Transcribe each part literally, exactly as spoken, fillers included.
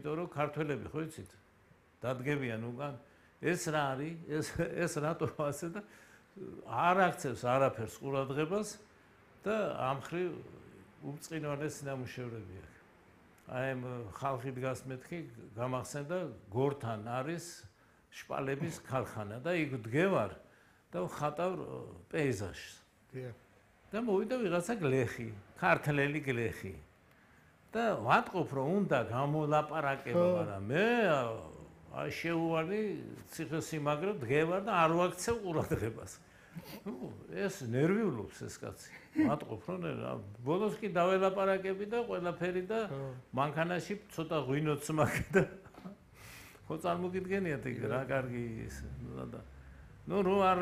იმიტომ რომ ქართველები ხო იცით დადგებიან უკან ეს რა არის ეს ეს რატო ასე და არ აქცევს არაფერს ყურადღებას და ამ ხრივ უწყინვალეს ნამუშევრები აქვს. აი ამ ხალხი დგას მეთქი გამახსენდა გორთან არის შპალების ქარხანა და იქ დგევარ და ხატავ პეიზაჟს. და მოვიდა ვიღაცა გლეხი, ქართლელი გლეხი. და ვატყობ რომ უნდა გამოლაპარაკება, მაგრამ მე აი შეუვალი ციხესიმაგრე დგევარ და არ ვაქცევ ყურადღებას. ეს ნერვიულობს ეს კაცი. ვატყობ რომ ბოლოს კი დაველაპარაკები და ყველაფერი და მანქანაში ცოტა ღვინოც მაქვს და ხო წარმოგიდგენიათ იქ რა კარგი ის და ნუ რო არ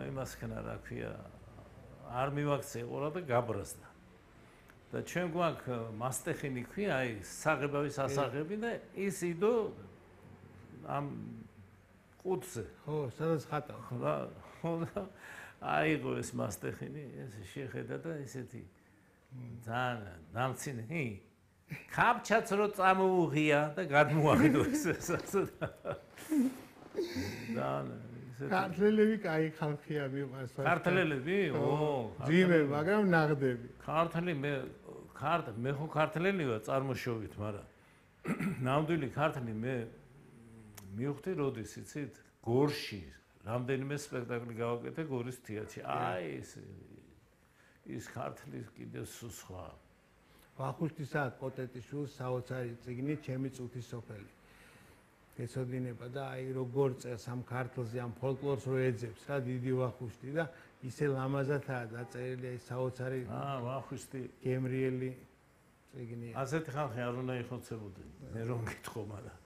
იმას ხნა რა ქვია არ მივაქცე ყურა და გაბრაზდა. და ჩვენ გვაქვს მასტეხინი ქვია აი საღებავის ასაღები და ის იდო ამ ყუთზე ხო სადაც ხატავ ხო აიღო ეს მასტეხინი ეს შეხედა და ესეთი ძალიან დამცინი კაპჩაც რო წამოუღია და გადმოაყიდო ეს ასე და ქართველები კაი ხალხია მიყვარს ქართველები ო ძიმე მაგრამ ნაღდები ქართლი მე ქართ მე ხო ქართველი ვარ წარმოშობით მაგრამ ნამდვილი ქართლი მე მივხვდი როდის იცით გორში რამდენიმე სპექტაკლი გავაკეთე გორის თეატრში აი ეს ის ქართლის კიდე სხვა ვახუშტისა პოტეტიშვილს საოცარი წიგნი ჩემი წუთის სოფელი ეცოდინება და აი როგორ წელს ამ ქართლზე ამ ფოლკლორს რო ეძებს რა დიდი ვახუშტი და ისე ლამაზადაა დაწერილი აი საოცარი აა ვახუშტი გემრიელი წიგნია ასეთი ხალხი არ უნდა იხოცებოდნენ მე რომ გითხო მაგრამ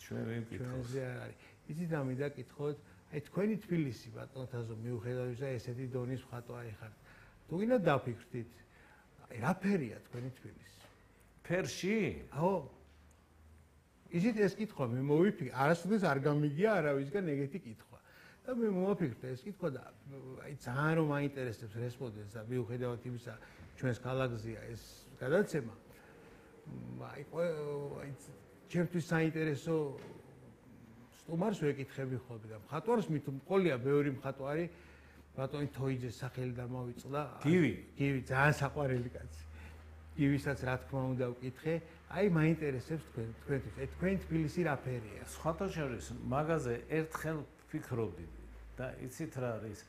ჩვენ ვერ გითხოს ჩვენზე არ არის იცით ამიდა კითხოთ აი თქვენი თბილისი ბატონთაზო მიუხედავად ისა ესეთი დონის მხატვარი ხართ თუ გინდა დაფიქრდით აი რა ფერია თქვენი თბილისი ფერში აო ისიც ეს კითხვა მე მოვიფიქრე არასოდეს არ გამიგია არავისგან ეგეთი კითხვა და მე მოვაფიქრე ეს კითხვა და აი ძალიან რომ მაინტერესებს რესპონდენტს და მიუხედავად იმისა ჩვენს ქალაქზეა ეს გადაცემა აი აი ჩემთვის საინტერესო სტუმარს ვეკითხები ხოლმე და მხატვარს მით მყოლია ბევრი მხატვარი ბატონი თოიძეს სახელი დამავიწყდა გივი გივი ძალიან საყვარელი კაცი გივისაც რა თქმა უნდა ვკითხე აი მაინტერესებს თქვენ თქვენთვის ეს თქვენ თბილისი რა ფერია სხვათა შორის მაგაზე ერთხელ ფიქრობდი და იცით რა არის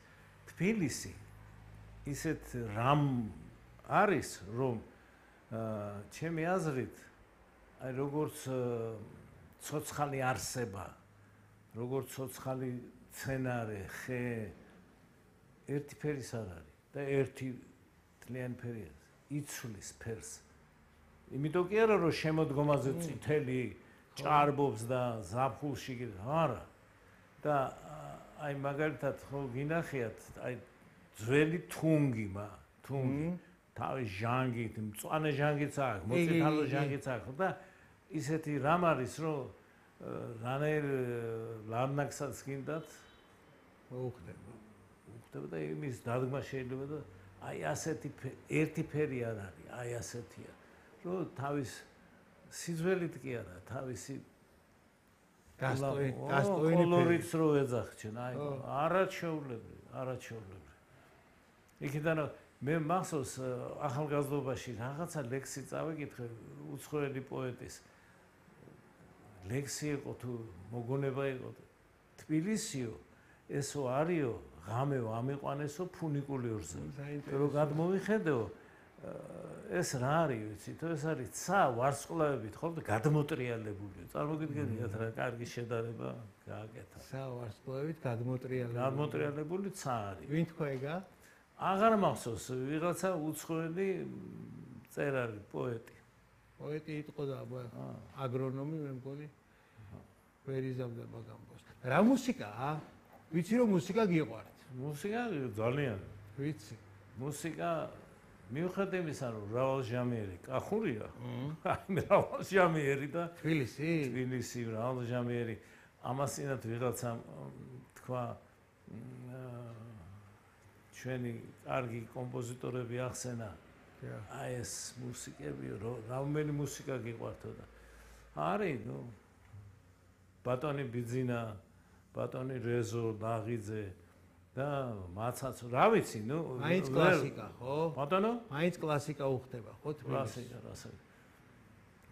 თბილისი ისეთ რამ არის რომ ჩემი აზრით აი როგორც ცოცხალი არსება როგორც ცოცხალი სცენარე ხე ერთი ფერის არ არის და ერთი თლიანი ფერია იცვლის ფერს იმიტომ კი არა რომ შემოდგომაზე წითელი ჭარბობს და ზაფხულში არა და აი მაგალითად ხო გინახიათ აი ძველი თუნგი მა თუნგი თავის ჟანგით მწვანე ჟანგიც აქვს მოწითალო ჟანგიც აქვს და ისეთი რამ არის რომ რანაირ ლარნაკსაც გინდათ მოუხდება უხდება და იმის დადგმა შეიძლება და აი ასეთი ერთი ფერი არ არის აი ასეთია რომ თავის სიძველით კი არა თავისი გასტოი გასტოინი კოლორიც რო ეძახჩენ აი არაჩვეულებრივი არაჩვეულებრივი იქიდან მე მახსოვს ახალგაზრდობაში რაღაცა ლექსი წავიკითხე უცხოელი პოეტის ლექსი იყო თუ მოგონება იყო თბილისიო ესო არიო ღამეო ამიყვანესო ფუნიკულიორზე რომ გადმოვიხედეო ეს რა არის ვიცით ეს არის ცა ვარსკვლავებით ხოლმე გადმოტრიალებული წარმოგიდგენიათ რა კარგი შედარება გააკეთა ცა ვარსკვლავებით გადმოტრიალებული გადმოტრიალებული ცა არის ვინ თქვა ეგა აღარ მახსოვს ვიღაცა უცხოელი წერალი პოეტი პოეტი იყო და აგრონომი მე მგონი ვერ იზამდება გამბოს რა მუსიკაა ვიცი რომ მუსიკა გიყვართ მუსიკა ძალიან ვიცი მუსიკა მიუხედავად იმისა რომ მრავალჟამიერი კახურია აი მრავალჟამიერი და თბილისი თბილისი მრავალჟამიერი ამასინათ ვიღაცა თქვა ჩვენი კარგი კომპოზიტორები ახსენა აი ეს მუსიკები რამდენი მუსიკა გიყვართო და არის, ნუ ბატონი ბიძინა, ბატონი რეზო, ლაღიძე და მაცაც, რა ვიცი, ნუ მაინც კლასიკა, ხო? ბატონო? მაინც კლასიკა უხდება, ხო? კლასიკა, რასაც.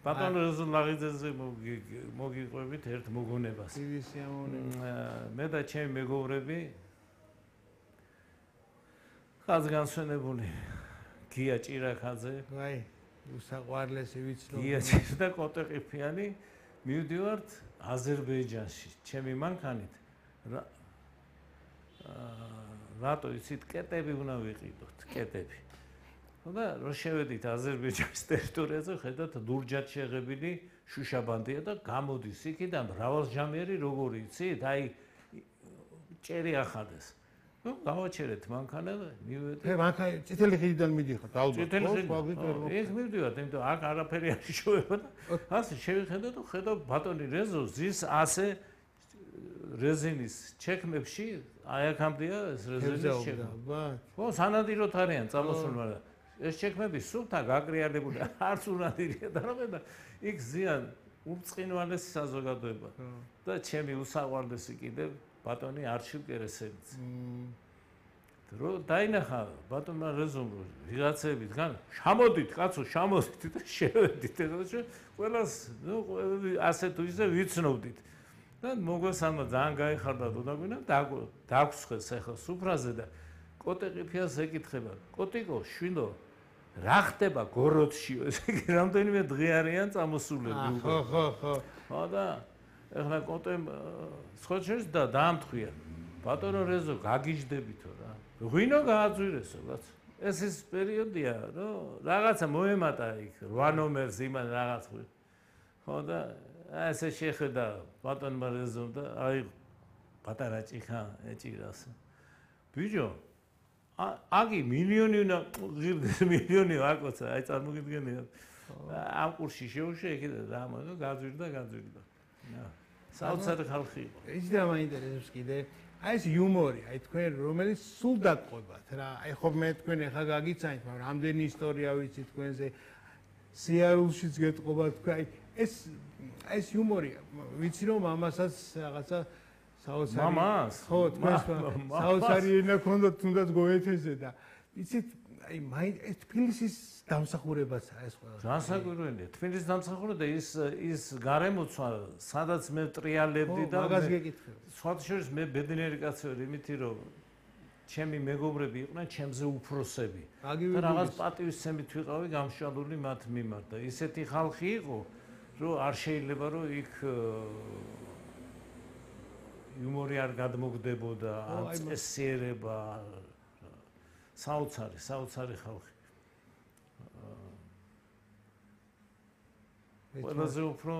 ბატონო რეზო ლაღიძეზე მოგიყვებით ერთ მოგონებას. დიდი სიამოვნება. მე და ჩემი მეგობრები ხაზგანსვენებული გია ჭირაქაძე, აი, უსაყვარლესი ვიცნობ. გია ჭირა და კოტეყიფიანი მივდივართ აზერბაიჯანში, ჩემი მანქანით. რატო იცით, კეტები უნდა ვიყიდოთ, კეტები. და რო შევედით აზერბაიჯანის ტერიტორიაზე, ხედავთ ლურჯად შეღებილი შუშაბანდია და გამოდის იქიდან მრავალჟამიერი როგორი იცით, აი ჭერი ახადეს. ნუ გავაჩერეთ მანქანა და მივედით. მე მანქანა წითელი ხიდიდან მიდიხართ, ალბათ. წითელი ხიდიდან. ეს მივდივართ, იმიტომ აქ არაფერი არ შევება და ასე შევიხედე და ხედავ ბატონი რეზო ზის ასე რეზინის ჩექმებში, აი აქამდეა ეს რეზინის ჩექმა. ხო, სანადიროთ არიან წამოსული, მაგრამ ეს ჩექმები სულთა გაკრიალებული არც უნადირია და რამე და იქ ზიან ურწყინვალესი საზოგადოება და ჩემი უსაყვარლესი კიდევ ბატონი არჩილ კერესელიც. რო დაინახა ბატონმა რეზომ ვიღაცები დგან, შამოდით კაცო, შამოდით და შევედით და ყველას ნუ ასე თუ ისე ვიცნობდით. და მოგვესალმა ძალიან გაიხარდა დოდაგვინა და დაგვრცხეს ახლა სუფრაზე და კოტეყიფიას ეკითხება, კოტიკო, შვილო, რა ხდება გოროდშიო? ესე იგი რამდენიმე დღე არიან წამოსულები უკვე. ხო, ხო, ხო. ხო და ახლა კოტემ სხოჩერს და დაამთხვია. ბატონო რეზო, გაგიჟდებითო რა. ღვინო გააძვირესო, კაცო. ეს ის პერიოდია, რომ რაღაცა მოემატა იქ რვა ნომერს იმან რაღაც. ხო და ასე შეხედა ბატონმა რეზომ და აი პატარა ჭიხა ეჭირას. ბიჭო, აგი მილიონი უნდა ღირდეს მილიონი ვაკოცა, აი წარმოგიდგენია. ამ კურსში შეუშე იქიდან რა მოიგო, გაძვირდა, გაძვირდა. საოცარი ხალხი იყო. ის და მაინტერესებს კიდე, აი ეს იუმორი, აი თქვენ რომელიც სულ დაგყვებათ რა. აი ხო მე თქვენ ახლა გაგიცანით, მაგრამ რამდენი ისტორია ვიცი თქვენზე. სიარულშიც გეტყობა თქვენ, აი ეს ეს იუმორია. ვიცი რომ მამასაც რაღაცა საოცარი მამას ხო თქვენს საოცარი ენა ქონდათ თუნდაც გოეთეზე და იცით აი მაინც ეს თბილისის დამსახურებაცაა ეს ყველა. განსაკვირველია. თბილისის დამსახურება და ის ის გარემოცვა, სადაც მე ტრიალებდი და მაგას გეკითხები. სხვათა შორის მე ბედნიერი კაცი ვარ, იმითი რომ ჩემი მეგობრები იყვნენ ჩემზე უფროსები. და რაღაც პატივისცემით ვიყავი გამშვალული მათ მიმართ და ისეთი ხალხი იყო, რომ არ შეიძლება რომ იქ იუმორი არ გადმოგდებოდა, ან წესიერება, საოცარი, საოცარი ხალხი. ყველაზე უფრო,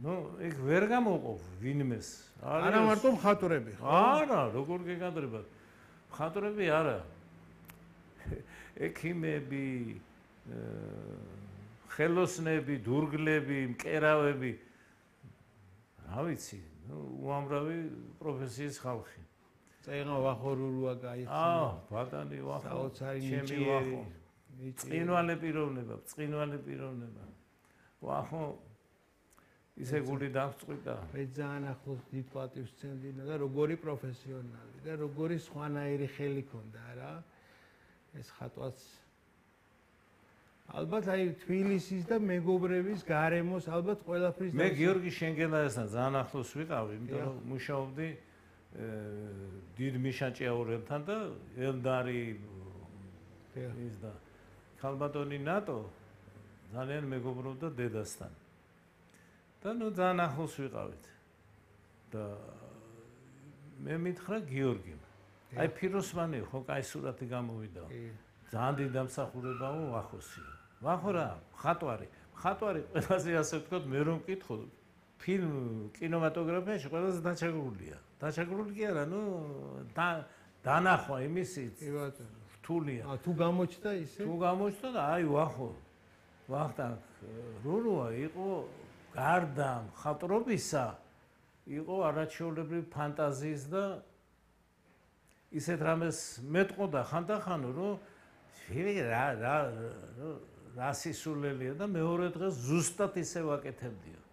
ნუ, იქ ვერ გამოყოფ ვინმეს. არა მარტო მხატვრები, ხო? არა, როგორ გეკადრებათ. მხატვრები არა. ექიმები, ხელოსნები, დურგლები, მკერავები. რა ვიცი, ნუ უამრავი პროფესიის ხალხი. წეღა ვახორურუა გაიხსნა. აა, ბატონი ვახო. საოცარი ჩემი ვახო. წინვალე პიროვნება, წინვალე პიროვნება. ვახო ისე გული დამწყვიტა. მე ძალიან ახლოს დიდ პატივს ვცემდი და როგორი პროფესიონალი და როგორი სხვანაირი ხელი ქონდა რა. ეს ხატვაც ალბათ აი თბილისის და მეგობრების გარემოს ალბათ ყველაფრის მე გიორგი შენგელაიასთან ძალიან ახლოს ვიყავი, იმიტომ რომ მუშაობდი დიდ მიშა ჭიაურელთან და ელდარი ის და ქალბატონი ნატო ძალიან მეგობრობდა დედასთან. და ნუ ძალიან ახლოს ვიყავით. და მე მითხრა გიორგიმ. აი ფიროსმანი ხო კაი სურათი გამოვიდა. ძალიან დიდი დამსახურებაა ვახოსი. ვახო რა, მხატვარი. მხატვარი ყველაზე ასე ვთქვათ, მე რომ მკითხო, ფილმ კინემატოგრაფიაში ყველაზე დაჩაგრულია. დაჩაგრული კი არა, ნუ დანახვა იმისიც. კი ბატონო. რთულია. აა თუ გამოჩნდა ისე? თუ გამოჩნდა და აი ვახო. ვახტანგ რურუა იყო გარდა მხატვრობისა, იყო არაჩვეულებრივი ფანტაზიის და ისეთ რამეს მეტყოდა ხანდახანო, რომ რა რა რა სისულელია და მეორე დღეს ზუსტად ისე ვაკეთებდიო.